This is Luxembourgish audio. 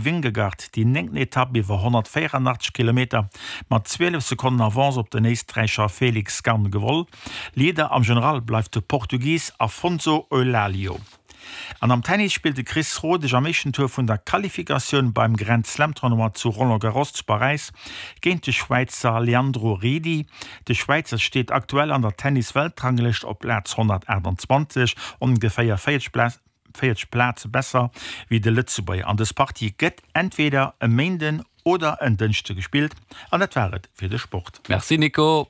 Vingegaard déi néngten Etapp iwwer 184 Kilometer mat 12 Sekonnen Avance op den Éisträicher Felix Gann gewoll. Leader am General bleift de Portugis Afonso Eulalio. An am Tennis spillt de Chris Rodesch am éischten Tour vun der Qualifikatioun beim Grand Slam Tournoi zu Roland Garros zu Paräis géint de Schwäizer Leandro Riedi. De Schwäizer steet aktuell an der Tennis-Weltranglëscht op Plaz 128, ongeféier 40 Plaze besser wéi de Lëtzebuerger. An dës Partie gëtt entweder e Méinden oder en Dënschde gespillt. An dat war et fir de Sport. Merci Nico.